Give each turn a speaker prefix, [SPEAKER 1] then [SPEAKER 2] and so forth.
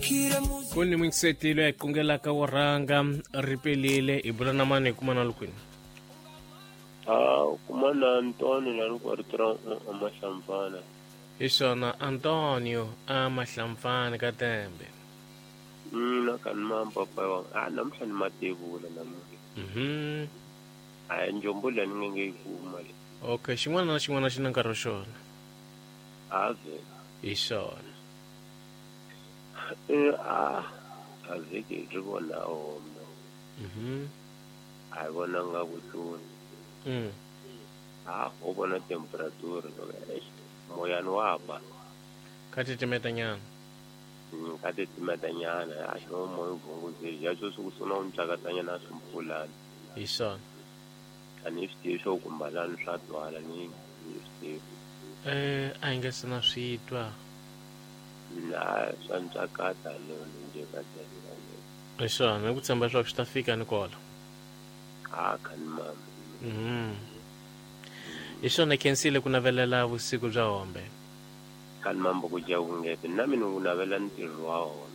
[SPEAKER 1] Ku ni n'wingiseti loyi a kungelaka wo rhanga ri pelile hi bula na mani hi kuma na lukwini.
[SPEAKER 2] A kuma na Antonio la ni ku rito ra Mahlampfana.
[SPEAKER 1] Hi swona Antonio a Mahlampfana ka Tembe.
[SPEAKER 2] Na ka ni papa wa a namuntlha ni matevula namuntlha. A njombo leyi ni nge nge yi kuma le.
[SPEAKER 1] Okay, xin'wana na xin'wana xi na nkarhi wa xona.
[SPEAKER 2] A vhela.
[SPEAKER 1] Hi swona.
[SPEAKER 2] A a vhiki ri vona home. A hi vonanga ku tlula. A ho vona temperature loko eish moyani wa ba.
[SPEAKER 1] Ka titimeta nyana.
[SPEAKER 2] Ka titimeta nyana a xo moya u vhunguzile ya sweswi ku sungula ku ntsakatanyana swimpfulana.
[SPEAKER 1] Hi swona.
[SPEAKER 2] A ni swi tivi swo kumbalani swa twala ni ni swi tivi.
[SPEAKER 1] A hi nge se na swi twa.
[SPEAKER 2] Na swa ntsakata no nje ka tena.
[SPEAKER 1] Hi swona, hi ku tshemba leswaku swi ta fika ni kola.
[SPEAKER 2] A kha ni mama.
[SPEAKER 1] Hi swona khensile ku navelela vusiku bya hombe.
[SPEAKER 2] Kha ni mambo ku dya vungete na mina ku navela ntirho wa hombe.